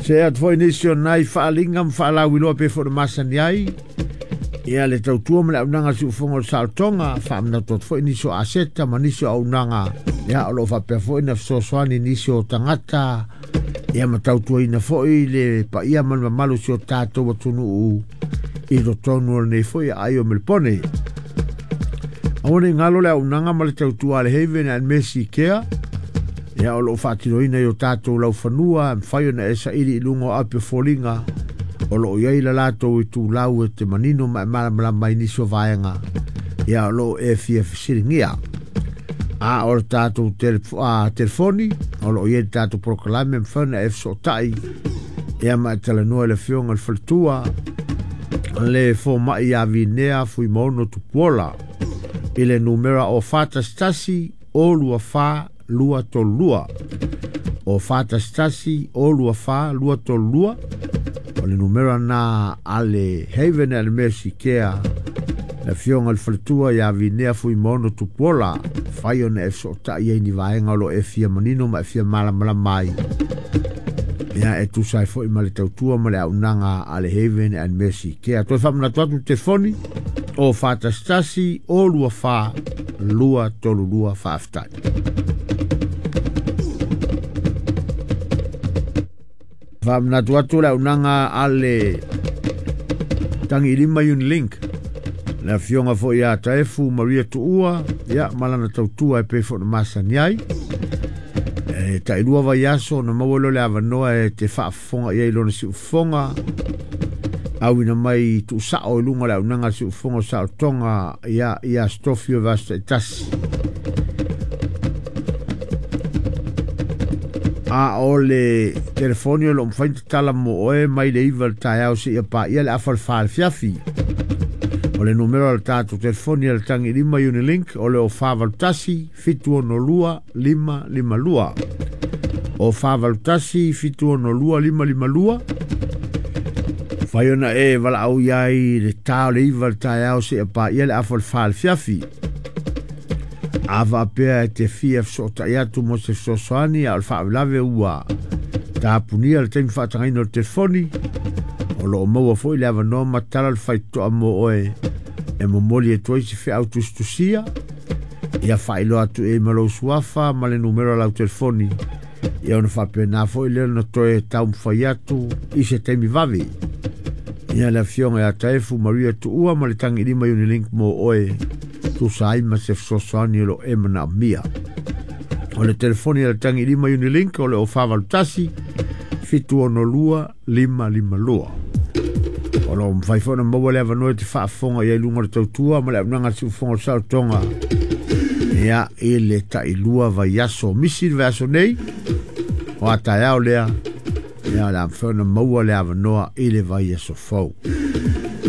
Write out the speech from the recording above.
Se atu foi nisi o nai faalinga ma faalauiloa pe foi na masani ai ia le tautua ma le aunaga siufoga o le saolotoga faamanatu atu foi nisi o aseta ma nisi o aunaga ia o loo faapea foi na fesoasoani nisi o tagata ia ma tautuaina foi le paia ma le mamalu si o tatou atunuu i totonu o lenei foi aai o Melepone. Aua nei galo le aunaga ma le tautua a le Haven and Mercy Care ia o loo faatinoina i o tatou laufanua mafai ona e saili i luga o api o foliga o loo iai la latou itulau e te manino ma e malamalama ai nisi o vaega ia o loo e fia fesiligia. A o le tatou telefoni o loo iai le tatou polokalame mafai ona e fesootai ia ma e talanoa i le afioga i le faletua le fomai ia Vinea Fuimaono Tupuola i le numera o 411 024 232 o 411 024 232 o le numera na a le Haven and Mercy Care le afioga i le faletua ia Vinea Fuimaono Tupuola fai ona e fesootai ai ni vaega o lo e fia manino ma e fia malamalama ai ia e tusa ai foi ma le tautua ma le aunaga a le Haven and Mercy Care. Toe faamanatu atu telefoni o 411 024 232 faafetai. Faamanatu atu le aunaga a le Tagilima Unilink le afioga foi ia Taefu Maria Tuua ia ma lana tautua e pei foi ona masani ai. E tailua vaiaso na maua lea o le avanoa e te faafofoga i ai lona siufofoga auina mai tuusao i luga o le aunaga le siufofoga o saolotoga ia ia Stofi o vaiaso taitasi. A o le telefoni o loo mafai ona tatala mo oe mai le 9 le taeao seia paia le afa le 4 le fiafi. O le numera o le tatou telefoni a le Tagilima Unilink o le o 481 762 552 o 481 762 552 fai ona e valaau iai le ta o le 9 le taeao seia paia le afa le 4 le fiafi. A faapea e te fia fesootai atu mo se fesoasoani a o le faalavelave ua tapunia le taimi faatagaina o le telefoni o loo maua foi le avanoa ma tala le faitotoa mo oe e momoli atu ai se feau tusitusia ia faailoa atu e ma lou suafa ma le numera o lau telefoni ia ona faapena foi lea ona toe taumafai atu i se taimi vave. Ia le afioga ia Taefu Maria Tuua ma le Tagilima Unilink mo oe tusa ai ma se fesoasoani o loo e manaomia. O le telefoni a le Tagilima Unilink o le o 481 762 552. O loo mafai foi ona maua le avanoa e te faafofoga i ai luga o le tautua ma le aunaga a le siufofoga o le saolotoga ia i le tailua vaiaso misi le vaiaso nei o a taeao lea ia o le a mafai ona maua le avanoa i le vaiaso fou.